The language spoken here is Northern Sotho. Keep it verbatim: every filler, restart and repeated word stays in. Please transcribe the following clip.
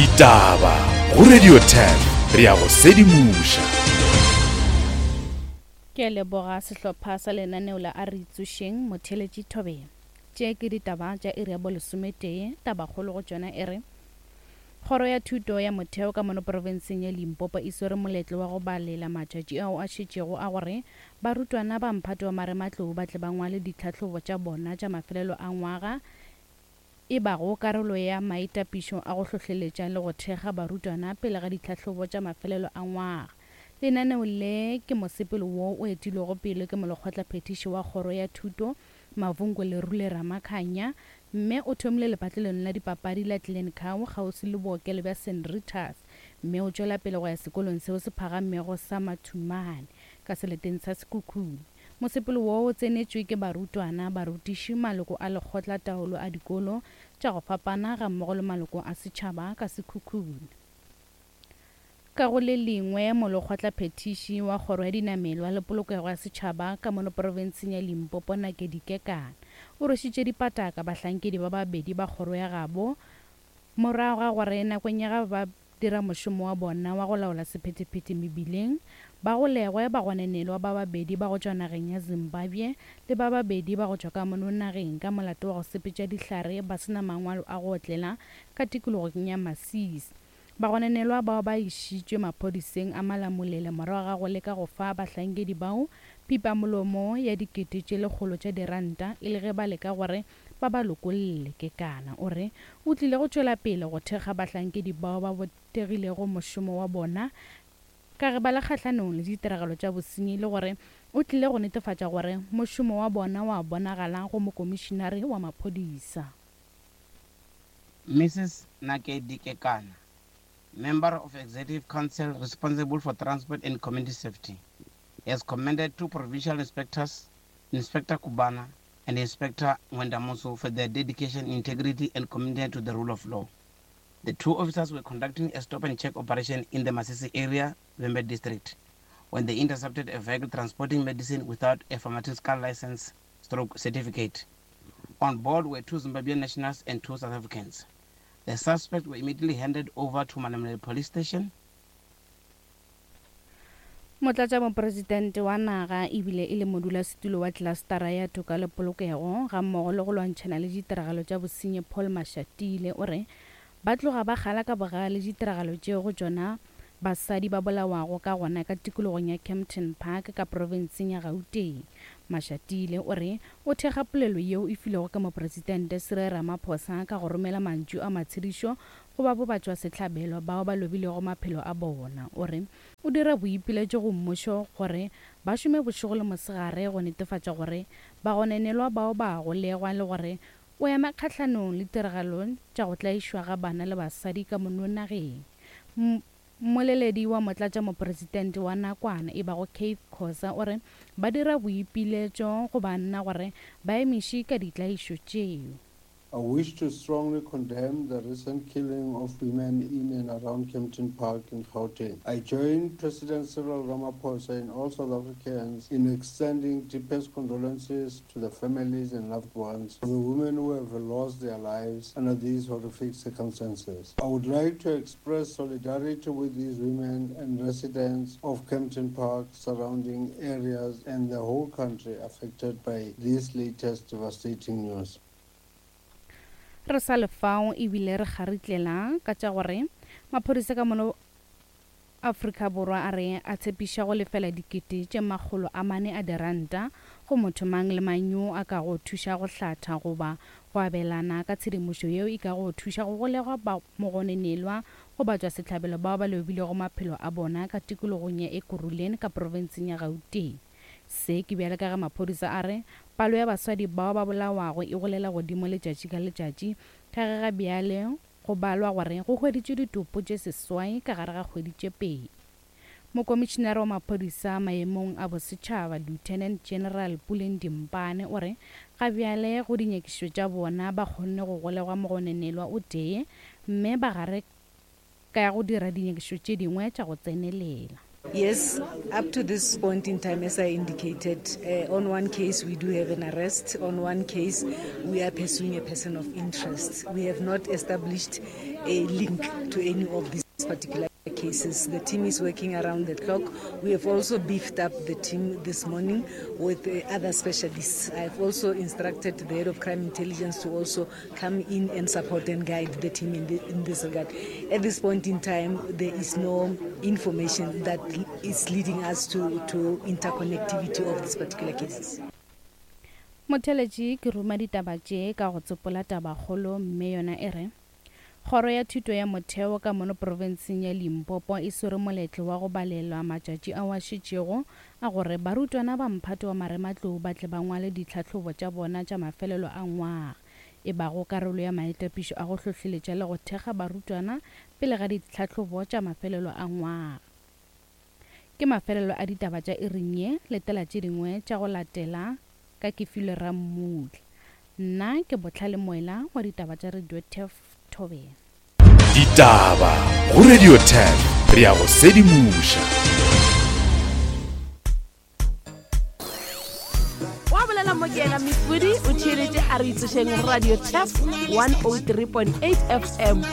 Ditaba go Radio ten re ya go sedimoša. Ke a leboga sehlopha sa lenaneo la A Re Itsošeng Motheeletši Thobela. Tše ke ditaba tša iri ya bolesometee, tabakgolo go tšona e re Kgoro ya Thuto ya Motheo ka mono profenseng ya Limpopo e swere moletlo wa go balela matšatši ao a šetšego a gore barutwana ba mphato wa marematlou ba tle ba ngwale ditlhahlobo tša bona tša mafelelo a ngwaga e bago karolo ya maitapišo a go hlohleletša le go thekga barutwana pele ga ditlhahlobo tša mafelelo a ngwaga. Lenaneo le ke mosepelo wo o etilwego pele ke molekgotlaphethiši wa Kgoro ya Thuto Mavungo Lerule Ramakhanya mme o thomile lepatlelong la dipapadi la Glencoe kgauswi le bookelo bja Saint Rita's mme o tšwela pele go ya sekolong seo se phagamego sa Mathumane ka seleteng sa Sekhukhune. Mosepelo wo o tsenetšwe ke barutwana, barutiši, maloko a lekgotla taolo a dikolo tša go fapana gammogo le maloko a setšhaba ka Sekhukhune. Ka go le lengwe, molekgotlaphethiši wa Kgoro ya Dinamelwa le Polokego ya Setšhaba ka mono profenseng ya Limpopo Nakedi Kekana o rwešitše dipataka bahlankedi ba babedi ba kgoro ya gabo morago ga gore nakong ya ga ba dira mošomo wa bona wa go laola sephethephethe mebileng ba golegwe bagononelwa ba babedi ba go tšwa nageng ya Zimbabwe le ba babedi ba go tšwa ka mono nageng ka molato wa go sepetša dihlare ba se na mangwalo a go otlela ka tikologong ya Masisi. Bagononelwa bao ba išitšwe maphodiseng a Malamulele morago ga go leka go fa bahlankedi bao pipamolomo ya dikete tše lekgolo tša diranta e le ge ba leka gore ba ba lokolle. Kekana o re o tlile go tšwela pele go thekga bahlankedi bao ba botegilego mošomo wa bona ka ge ba le kgahlanong le ditiragalo tša bosenyi le gore o tlile go netefatša gore mošomo wa bona wa bonagala go mokomišinare wa maphodisa. Missus Nakedi Kekana, member of Executive Council responsible for Transport and Community Safety, has commended two provincial inspectors, Inspector Kubana and Inspector Mwendamuso, for their dedication, integrity, and commitment to the rule of law. The two officers were conducting a stop and check operation in the Masisi area, Vhembe district, when they intercepted a vehicle transporting medicine without a pharmaceutical license stroke certificate. On board were two Zimbabwean nationals and two South Africans. The suspects were immediately handed over to Malamulele police station. Motlatšamopresidente wa naga ebile e le modulasetulo wa klastara ya toka le polokego gammogo le go lwantšhana le ditiragalo tša bosenyi Paul Mashatile o re ba tloga ba kgala ka bogale ditiragalo tšeo go tšona basadi ba bolawago ka gona ka tikologong ya Kempton Park ka profenseng ya Gauteng. Mashatile o re o thekga polelo yeo e filwego ke mopresidente Cyril Ramaphosa ka go romela mantšu a matshedišo go ba bobatšwasehlabelo bao ba lobilego maphelo a bona. O re o dira boipiletšo go mmušo gore ba šome bošego le mosegare go netefatša gore bagononelwa bao ba golegwa le gore o ema kgahlanong le tiragalo tša go tlaišwa ga bana le basadi ka mono nageng. Mmoleledi wa motlatšamopresidente wa nakwana e bago Keith Khosa o re ba dira boipiletšo go banna gore ba emiše ka ditlaišo tšeo. I wish to strongly condemn the recent killing of women in and around Kempton Park in Gauteng. I join President Cyril Ramaphosa and all South Africans in extending deepest condolences to the families and loved ones of the women who have lost their lives under these horrific circumstances. I would like to express solidarity with these women and residents of Kempton Park, surrounding areas and the whole country affected by this latest devastating news. Re sa lefao ebile re kgaritlela ka tša gore maphodisa ka mono Afrika Borwa a re a tshepiša go lefela dikete tše makgolo a mane a diranta go motho mang le mang yo a ka go thuša go hlatha goba go abelana ka tshedimošo yeo e ka go thuša go golegwa ba mogononelwa go batšwasehlabelo bao ba lobilego maphelo a bona ka tikologong ya Ekurhuleni ka profenseng ya Gauteng. Se ke bjale ka ge maphodisa a re palo ya basadi bao ba bolawago e golela godimo letšatši ka letšatši ka ge ga bjale go balwa gore go hweditšwe ditopo tše seswai ka gare ga kgwedi tše pedi. Mokomišinare wa maphodisa maemong a bosetšhaba Lieutenant General Puleng Dimpane o re ga bjale go dinyakišišo tša bona ba kgonne go golegwa mogononelwa o tee mme ba gare ka ya go dira dinyakišišo tše dingwe tša go tsenelela. Yes, up to this point in time, as I indicated, uh, on one case we do have an arrest. On one case, we are pursuing a person of interest. We have not established a link to any of these particular cases. The team is working around the clock. We have also beefed up the team this morning with uh, other specialists. I've also instructed the head of crime intelligence to also come in and support and guide the team in, the, in this regard. At this point in time, there is no information that is leading us to, to interconnectivity of these particular cases. Motheletši ke ruma ditaba tše ka go tsopola tabakgolo mme yona e re Kgoro ya Thuto ya Motheo ka mono profenseng ya Limpopo e swere moletlo wa go balelwa matšatši ao a šetšego a gore barutwana ba mphato wa marematlou ba tle ba ngwale ditlhahlobo tša bona tša mafelelo a ngwaga e bago karolo ya maitapišo a go hlohleletša le go thekga barutwana pele ga ditlhahlobo tša mafelelo a ngwaga. Ke mafelelo a ditaba tša iring ye, letela tše dingwe tša go latela ka Kefilwe Rammutla. Nna ke Bohlale Moela wa ditaba tša Radio Turf Thobela. Ditaba go Radio Turf, re ya go sedimoša. Wa bolela mo ke yena Mefudi o theeletše a re itsošeng Radio Turf one oh three point eight F M.